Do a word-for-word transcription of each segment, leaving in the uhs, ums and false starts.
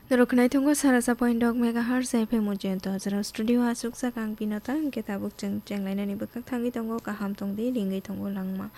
Norok khwnai tongo sara sa point dok megahertz F M Ujjain to, jora studio aswk sak ang Binota, hwnkhe tabuk chwng chenglainani bwkhak thangwi tongo, kaham tongdi, ringwi tongo langma.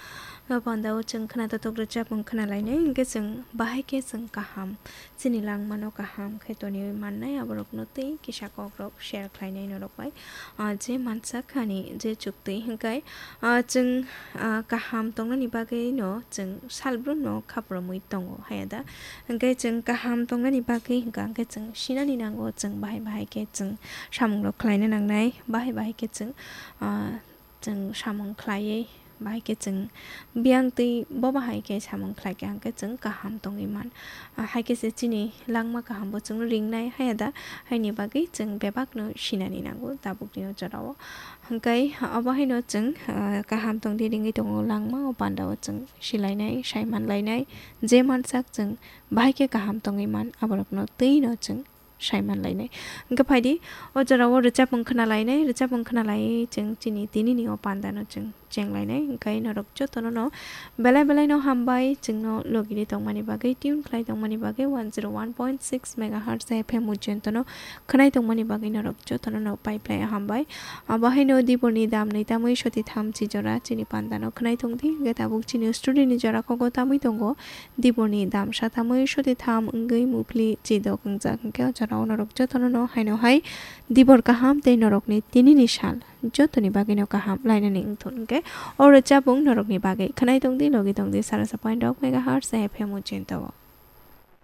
O pandao chwng khwnatok rwchapmung khwnalainai, hwnkhe chwng bahai khe chwng kaham, chini langmano kaham khe toniwi mannai, aborokno tei kisa kokrok share khlainai norok bai. Ah, je mansak ani je chukti hwnkhe, ah, chwng, ah, kaham tongnani bagwi no chwng salbrum no khapromwi tongo, haya da? Hwnkhe chwng kaham tongnani bagwi hwnkha hwnkhe chwng sinani nango, chwng bahai bahai khe chwng samungrok khlaina nangnai, bahai bahai khe chwng, ah, chwng samung khlaiwi, bahai khe chwng biyang twi bo bahai khe samung khlaikha hwnkhe chwng kaham tongwi man. Ah, hai khe se chini langma kaham bo chwng ringnai, haya da? Haini bagwi chwng bebakno sinani nango tabukni o jorao. Hwnkhe obo haino chwng, ah, kaham tongdi ringwi tongo langma, o pandao chwng silainai, saimanlainai, je mansak chwng bahai khe kaham tongwi man, aborokno twino chwng saimanlainai. Hwnkhe phaidi, o jorao rwchapmung khwnalainai, rwchapmung khwnalaiwi chwng chini tinini o pandano chwng chenglainai. Hwnkhe norok jotono no belai belai no hambai, chwngno logini tongmani bagwi, tune khlai tongmani bagwi one zero one point six megahertz F M Ujjain to no khwnai tongmani bagwi norok jotono no pai phlai hambai. Abo haino diborni dam nwi tamwi soti tham chi jora chini pandano khwnai tongdi, hwnkhe tabuk chini studio ni jora kogo tamwi tongo. Diborni dam sa tamwi soti tham wngwi muphli chidok wngjak, hwnkhe o jorao norok jotono no haino hai dibor kaham tei norokni tinini sal jotoni bagwino kaham lainani wngthun, hwnkhe o rwchapmung norokni bagwi khwnai tongdi, logi tongdi sara sa point dok megahertz F M Ujjain to.